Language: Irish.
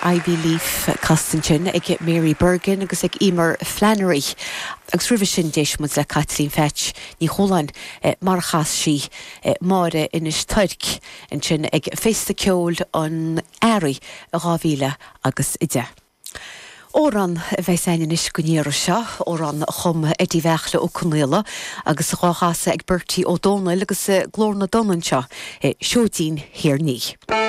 Ivy Leaf casta ansin ag Mary Bergin agus ag Emer Flannery. Agus roimhe sin d'éist muid le Caitlín Pheaits Ní Chualáin mar a chas sí Máire Inis Toirc ansin ag Féasta Ceoil an Earraigh i 2000 agus 10. Amhrán a bheas againn anois don iarraidh seo, amhrán a chum Eddie Bheartla Ó Conaola agus dhá chasadh ag Bertie Ó Dónaill agus Glór na dTonn anseo, Seoidín Thír an Fhia.